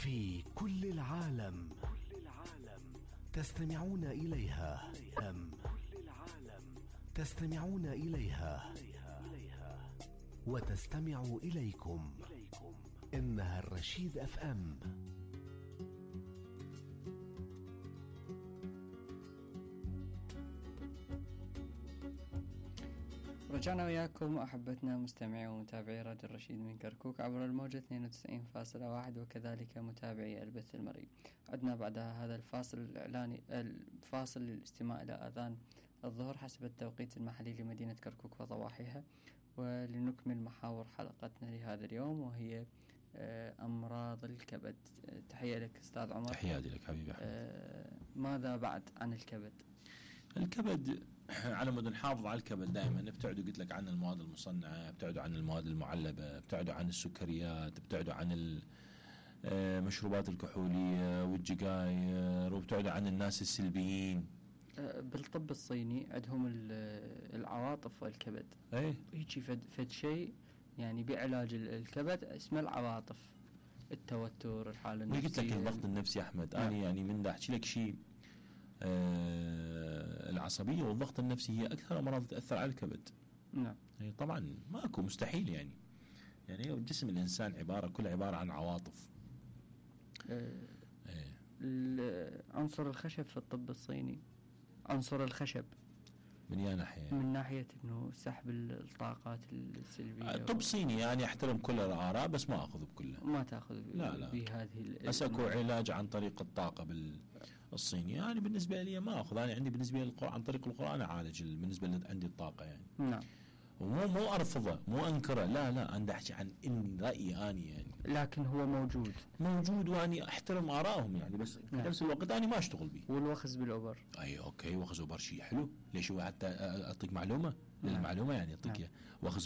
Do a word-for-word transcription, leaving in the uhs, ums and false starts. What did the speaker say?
في كل العالم تستمعون إليها أم تستمعون إليها وتستمع إليكم. إنها الرشيد أف أم. رجعنا وياكم أحبتنا مستمعي ومتابعي راديو الرشيد من كركوك عبر الموجة اثنين وتسعين فاصلة واحد وكذلك متابعي البث المرئي. عدنا بعد هذا الفاصل الإعلاني الفاصل للاستماع إلى أذان الظهر حسب التوقيت المحلي لمدينة كركوك وضواحيها، ولنكمل محاور حلقتنا لهذا اليوم وهي أمراض الكبد. تحية لك أستاذ عمر. تحياتي لك حبيبي أحمد. ماذا بعد عن الكبد؟ الكبد على مود نحافظ على الكبد دائما ابتعدوا قلت لك عن المواد المصنعة، ابتعدوا عن المواد المعلبة، ابتعدوا عن السكريات، ابتعدوا عن المشروبات الكحولية والجقاير، وابتعدوا عن الناس السلبيين. بالطب الصيني عندهم العواطف والكبد، ايه هيجي فد, فد شيء يعني بعلاج الكبد اسمه العواطف، التوتر، الحالة النفسية. قلت لك الضغط النفسي أحمد. أنا يعني من دا أحكي لك شيء، آه العصبية والضغط النفسي هي أكثر أمراض تأثر على الكبد. نعم. يعني طبعا ماكو مستحيل يعني يعني جسم الإنسان عبارة كل عبارة عن عواطف. آه آه. عنصر الخشب في الطب الصيني، عنصر الخشب من يا ناحية؟ من ناحية انه سحب الطاقات السلبية. الطب الصيني يعني احترم كل الآراء بس ما أخذ بكلها. ما تأخذ لا لا بهذه بس اكو علاج عن طريق الطاقة بالصيني. يعني بالنسبة لي ما أخذ، أنا عندي بالنسبة للقرآن عن طريق القرآن أعالج بالنسبة لي عندي الطاقة يعني. نعم. ومو مو أرفضه مو أنكره، لا لا أنا أحكي عن إن رأيي أنا يعني. لكن هو موجود موجود وأني أحترم آرائهم يعني، بس في نعم. نفس الوقت أنا ما أشتغل به. والوخز بالأوبر. أي أوكي وخز أوبر شيء حلو. ليش هو حتى أعطيك معلومة نعم. للمعلومة يعني أعطيك نعم. وخز